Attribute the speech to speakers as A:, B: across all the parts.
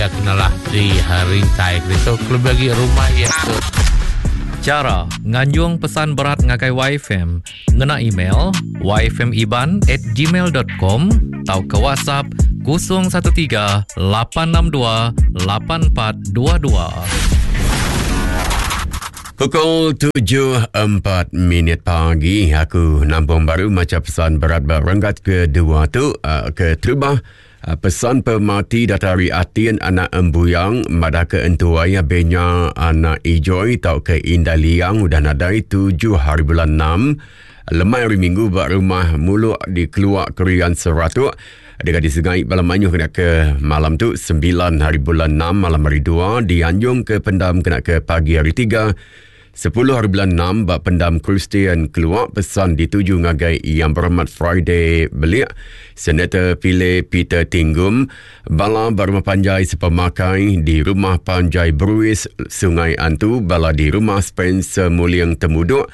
A: iya kenalah di rintai ke ditu kelebih agi rumah iya ke
B: Chara nganjung pesan berat ngagai YFM ngena email yfmiban at gmail dot com tauka WhatsApp 013 862 8422.
C: Pukul 7.04 minit pagi aku nampung baru macha pesan berat ba renggat kedua tu uh, ke terubah uh, pesan pemati datai ari Atin anak Embuyang madah ke entua iya Benya anak Ijoi tauka Indai Liang udah nadai tujuh hari bulan 6 lemai hari Minggu ba rumah Muluk di Keluak Kerian Seratuk. Deka disengai bala mayuh kena ke malam tu 9 hari bulan 6 malam hari 2 dianjung ke pendam kena ke pagi hari 3 10 hari bulan 6 ba pendam Kristian Keluak pesan dituju ngagai Yang Berhormat Friday Belik Senator Pile Peter Tinggum bala ba rumah panjai sepemakai di rumah panjai Bruis Sungai Antu bala di rumah Spencer Muling Temuduk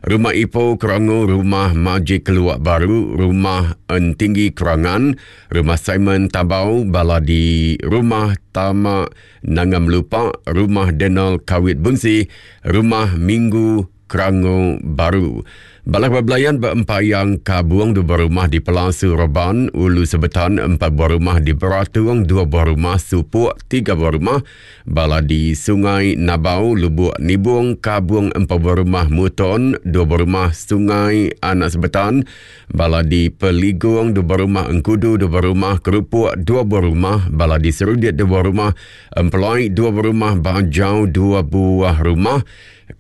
C: Rumah Ipoh Kerango, Rumah Majik Keluak Baru, Rumah Entinggi Kerangan, Rumah Simon Tabau, bala di Rumah Tama Nanga Melupa, Rumah Denal Kawit Bunsi, Rumah Minggu Kerango Baru. Bala belayan ba Empayang Kabung dua buah rumah di Pelasu Reban, Ulu Sebetan empat buah rumah di Beratung, dua buah rumah Supuk, tiga buah rumah Bala di Sungai Nabau, Lubuk Nibung, Kabung empat buah rumah Muton, dua buah rumah Sungai Anak Sebetan, bala di Peligung, dua buah rumah Engkudu, dua buah rumah Kerupuk, dua buah rumah, bala di Serudit, dua buah rumah Empelai, dua buah rumah Bajau, dua buah rumah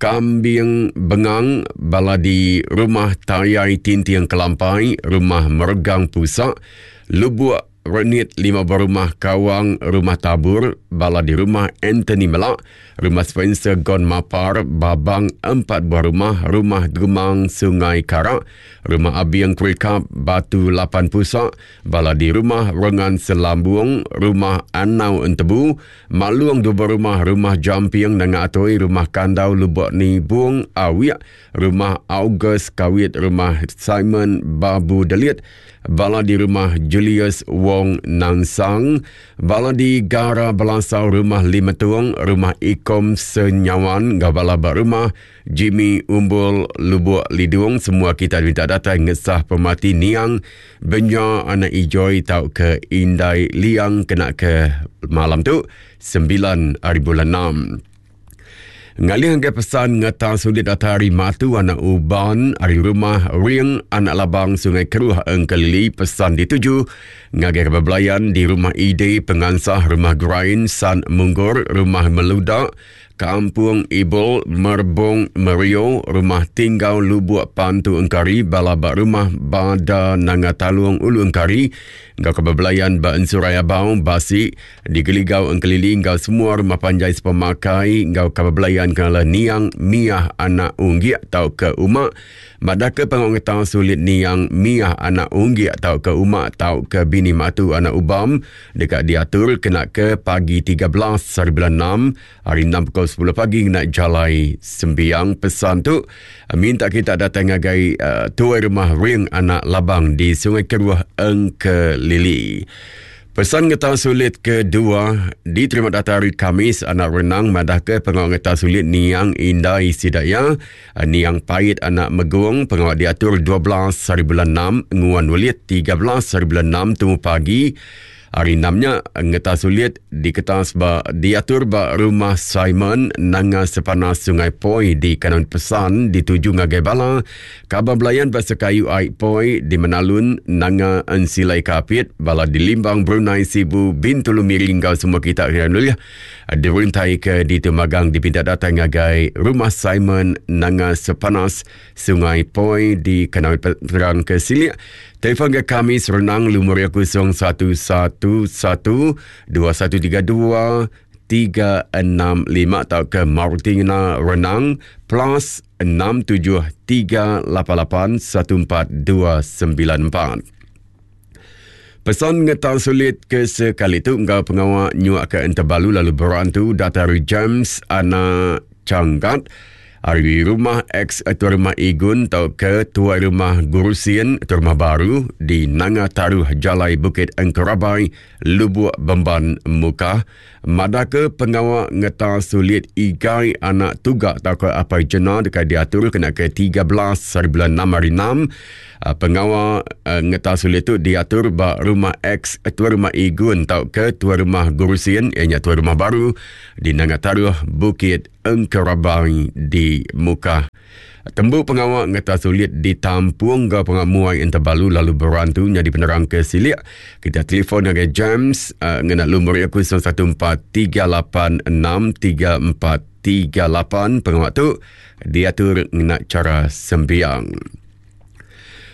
C: Kambing Bengang, bala di Rumah Tayai Tinting Kelampai, Rumah Meregang Pusak, Lubuk Renit lima buah rumah Kawang, Rumah Tabur, bala di Rumah Anthony Melak, Rumah Spencer Gon Mapar, Babang empat buah rumah, Rumah Gemang Sungai Karak, Rumah Abieng Kerikap, Batu Lapan Pusak, bala di Rumah Rengan Selambung, Rumah Anau Entebu, Malung dua buah rumah, Rumah Jamping Nanga Atoi, Rumah Kandau Lubok Nibung Awik, Rumah August Kawit, Rumah Simon Babu Delit, Bala di rumah Julius Wong Nansang, bala di Gara Belasau rumah Limetung, rumah Ikom Senyawan enggau bala ba rumah Jimmy Umbul Lubuk Lidung semua kita diminta datai ngesah pemati niang Benya anak Ijoi tauka Indai Liang kena ke malam tu 9 hari bulan 6. Ngalih ngagai pesan ngeta sulit datai ari Matu anak Uban ari rumah Ring anak Labang Sungai Keruh Engkelili pesan dituju ngagai kaban belayan di rumah Ide Pengansah rumah Grain San Munggor rumah Meluda Kampung Ibol Merbong Merio rumah Tinggau Lubuk Pantu Engkari bala ba rumah Bada Nanga Talung Ulu Engkari enggau kaban belayan ba Ensurai Abau Basi Digeligau Engkelili enggau semua rumah panjai sepemakai enggau kaban belayan kala niang Miah anak Unggik tauka Uma. Madahka pengawa ngetau sulit niang Miah anak Unggik tauka Uma tauka bini Matu anak Ubam deka diatur kena ke pagi 13 hari bulan 6 hari 6 pukul 10 pagi ngena jalai sembiang. Pesan tu minta kita datai ngagai uh, tuai rumah Ring anak Labang di Sungai Keruh Engkelili. Pesan ngetau sulit kedua diterima datai hari Khamis anak renang madahka pengawa ngetau sulit niang indai sida iya niang pait anak megung pengawa diatur 12 hari bulan 6 nguan ulit 13 hari bulan 6 tumu pagi hari 6 nya ngetau sulit diketas ba diatur ba rumah Simon Nanga Sepanas Sungai Poi di Kanan Pesan dituju ngagai bala Kaban belayan ba sekayu ai Poi di Menalun, Nanga Ensilai Kapit, bala di Limbang, Brunei, Sibu, Bintulu, Miri enggau semua kita ke nulih dirintai ke ditu magang dipinta datai ngagai Rumah Simon Nanga Sepanas, Sungai Poi di Kanowit Peterang ke silik. Telefon ke kami serenang lumur iya 0111 2132 365 tauka Martina Renang plus 67388 14294. Pesan ngetal sulit ke sekali tu enggau pengawa nyuaka entebalu lalu berantu datai ari James anak Changgat. Ari rumah ex Tuai Rumah Igun tauka Tuai Rumah Gurusin, Tuai Rumah Baru di Nanga Taruh Jalai Bukit Engkerabai, Lubuk Bemban, Mukah, madahka pengawa ngeta sulit Igai anak Tuga tauka Apai Jena deka diatur kena ke 13 hari bulan 6 hari 6. Pengawa ngeta sulit tu diatur ba rumah ex Tuai Rumah Igun tauka Tuai Rumah Gurusin iya nya Tuai Rumah Baru di Nanga Taruh Bukit Engkerabai di Mukah. Tembu pengawa ngeta sulit ditampung enggau pengawa muai entebalu lalu berantu nyadi penerang ke silik. Kita telefon ngagai James uh, ngena lumur iya 0143863438. Pengawa tu diatur ngena chara sembiang.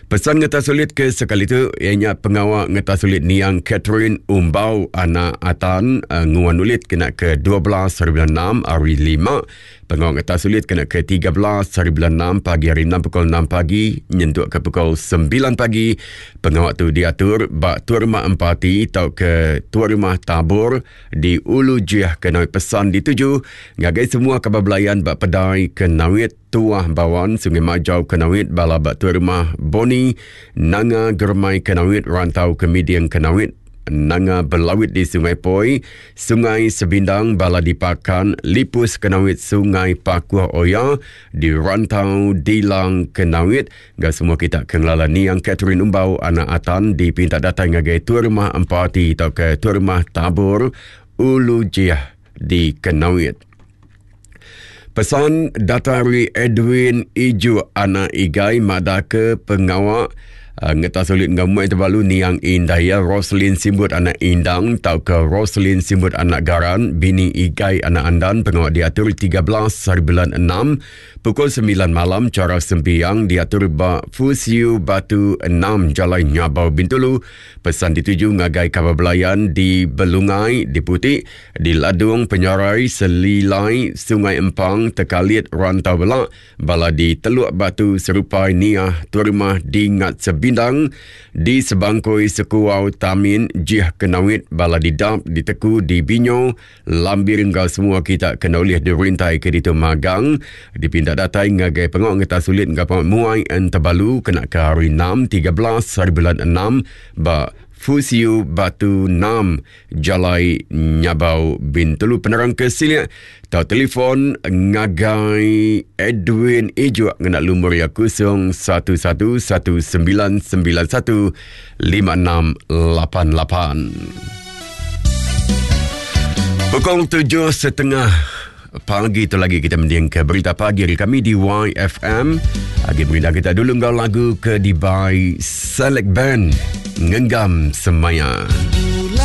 C: Pesan ngeta sulit ke sekali tu iya nya pengawa ngeta sulit niang Catherine Umbau anak Atan uh, nguan ulit kena ke 12 hari bulan 6 hari 5. Pengawa ngeta sulit kena ke 13 hari bulan 6 pagi hari 6 pukul 6 pagi nyentuk ke pukul 9 pagi. Pengawa tu diatur ba Tuai Rumah Empati tauka Tuai Rumah Tabor di Ulu Jih Kenawit pesan dituju ngagai semua kaban belayan ba Pedai Kenawit. Tuah Bawan, Sungai Majau Kenawit, Bala ba Tuai Rumah Boni, Nanga Germai Kenawit, Rantau Kemiding Kenawit, Nanga Belawit di Sungai Poi, Sungai Sebindang, Bala di Pakan, Lipus Kenawit, Sungai Pakuh Oya, di Rantau Dilang Kenawit, enggau semua kita ke ngelala niang Catherine Umbau anak Atan dipinta datai ngagai Tuai Rumah Empati tauka Tuai Rumah Tabor Ulu Jih di Kenawit. Pesan datai ari Edwin Ijuk anak Igai madahka pengawa uh, ngetas ulit enggau muai tebalu niang indai iya Roslin Simbut anak Indang tauka Roslin Simbut anak Garan bini Igai anak Andan pengawa diatur 13 hari bulan 6 pukul 9 malam chara sembiang diatur ba Fusiu Batu 6 Jalai Nyabau Bintulu pesan dituju ngagai kaban belayan di Belungai di Putik Di Ladung Penyarai, Selilai, Sungai Empang, Tekalit, Rantau Belak, bala di Teluk Batu, Serupai, Niah, Tuai Rumah, di Ngat Sebindang, di Sebangkoi, Sekuau, Tamin, Jih Kenawit, bala di Dap, di Teku, di Binyo, Lambir enggau semua kita ke enda ulih dirintai ke ditu magang, dipinta datai ngagai pengawa ngetas ulit enggau pengawa muai entebalu kena ke hari 6, 13 hari bulan 6 ba Fusiu Batu 6. Jalai Nyabau Bintulu penerang ke silik tau telefon ngagai Edwin Ijuk ngena lumur iya 0119915688. Pukul 7.30 pagi tu lagi kita mending ke berita pagi hari kami di YFM. Agi berita kita dulu enggau lagu ke dibai Select Band Ngenggam Semaya.